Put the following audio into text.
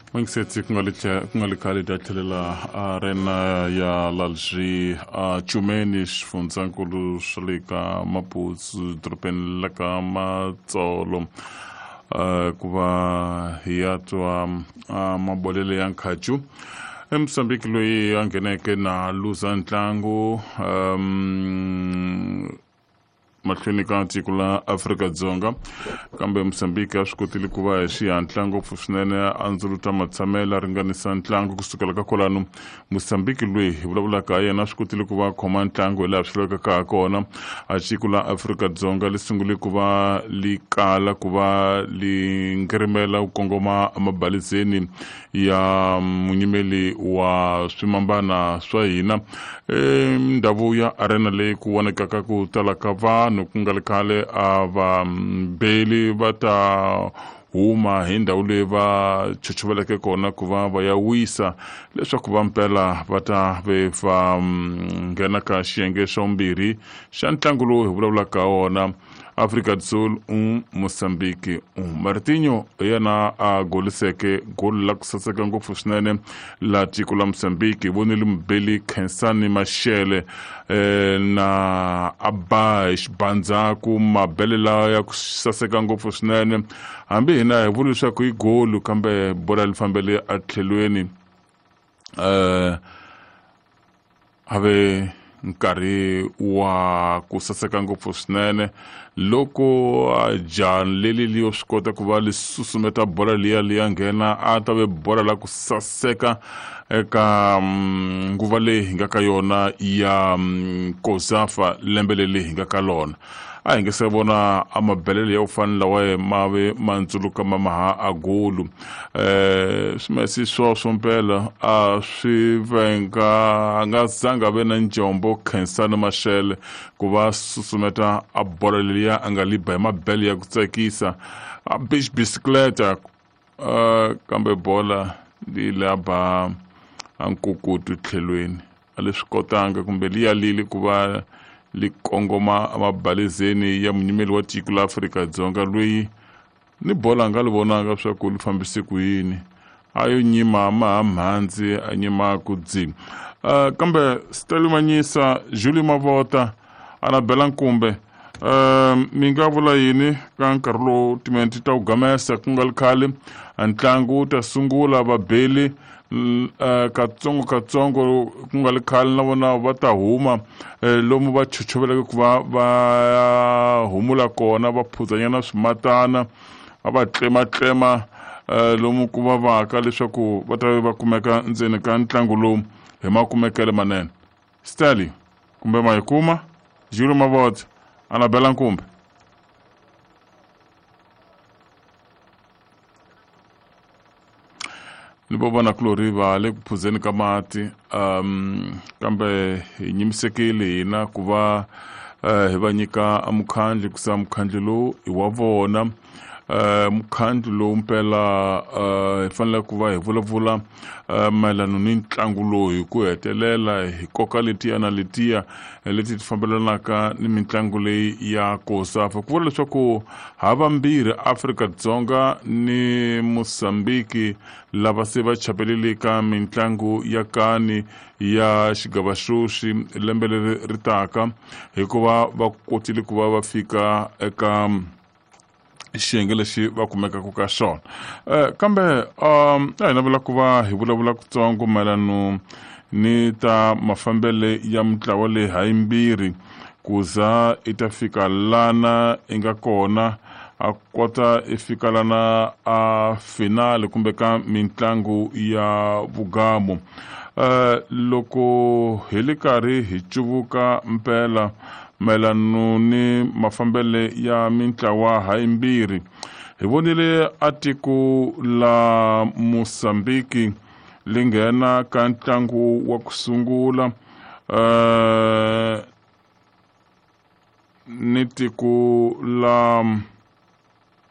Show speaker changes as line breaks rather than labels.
N'wingisetsi ku nga li khale ta tlhelela arena ya Lalji a Chumeni xifundzankulu swa le ka Maputo dorobeni la ka Matsolo ku va hi ya twa mabolele ya nkhacu eMozambique loyi a ngheneke na luza ntlangu mahlweni ka tiko la Afrika-Dzonga kambe Mozambique a swi kotile ku va hi xihatla ngopfu swinene a ndzuluta matshamelo a ringanisa ntlangu kusukela ka kwalano Mozambique loyi hi vulavulaka ha yena a swi kotile ku va khoma ntlangu hi laha swi lavekaka ha kona a tiko la Afrika-Dzonga li sungule ku va li kala ku va li ngirimela ku kongoma emabalizeni ya munyimeli wa swimambana swa hina ndhawu ya arena leyi ku vonekaka ku tala ka vanhu ku nga ri khale a va beli va ta huma hi ndhawu leyi va chochoveleke kona ku va va ya wisa leswaku va mpela va ta ve va nghena ka xiyenge xa vumbirhi xa ntlangu lowu hi vulavulaka wona Afrika do Sul 1 Mozambique 1 Martinho hi yena a goliseke goli la ku saseka ngopfu swinene la tiko la Mozambique hi vonile mubeli Khensani Mashele na a ba hi xibandzaku mabele lawa ya ku saseka ngopfu swinene hambi hina hi vula leswaku i golu kambe bola li fambele atlhelweni ave nkarhi wa ku saseka ngopfu swinene loko jaha leli liyo swi kota ku va li susumeta bola liya liya nghena a ta ve bola la ku saseka eka nguva leyi hi nga ka yona ya Kozafa lembe leri hi nga ka lona a hi nge se vona a mabelele ya ku fana lawa ma ve ma ndzuluka ma maha a golu swimesi swoswo mpela a swi venga a nga zanga ve na njombo Khensani Mashele ku va susumeta a bola leliya a nga liba hi mabele ya ku tsakisa a beach bicicleta kambe bola li la ba a nkukutu tlhelweni a leswi kotanga kumbe liya lili ku va li kongoma emabalizeni ya munyimeli wa tiko la Afrika-Dzonga loyi ni bola a nga li vonanga swa ku li fambise ku yini a yo nyima ma ha mhandzi a nyima ku dzi kambe Stanley Manyisa Julie Mavota Anabela Nkumbe mi nga vula yini ka nkarhi lowu timinete ta ku gamesa ku nga li khale ntlangu wu ta sungula vabeli katsongo katsongo ku nga li khale na vona va ta huma lomu va chochoveleke ku va va humula kona va phuzanyana swimatana va va tlematlema lomu ku vavaka leswaku va ta va kumeka ndzeni ka ntlangu lowu hi makumekele manene Stanley kumbe ma yi kuma Julie Mavota Anabela Nkumbe ni vo vona kulori va le ku phuzeni ka mati kambe hi nyimisekile hina ku va hi va nyika mukhandlu ku mukhandlu lowu i wa vona mukhandlu lowu mpela hi fanele ku va hi vulavula mayelana ni ntlangu lowu hi ku hetelela hi koka letiya na letiya leti ti fambelanaka ni mitlangu leyi ya Kosafa ku vula leswaku havambirhi Afrika-Dzonga ni Mozambique lava se va chapelele ka mitlangu ya kani ya xigava xoxi lembe leri ri taka hikuva va kotile ku va va fika eka xiyenge lexi va kumekaka ka xona kambe a hi navela ku va hi vulavula kutsongo mayelano ni ta mafambele ya mitlawa leyi hayimbirhi ku za i ta fika lana i nga kona a kota i fika lana a finale kumbe ka mitlangu ya vugamu loko hi li karhi hi cuvuka mpela mayelano ni mafambele ya mintlawa hayimbirhi hi vonile a tiko la Mozambique li nghena ka ntlangu wa ku sungula ni tiko la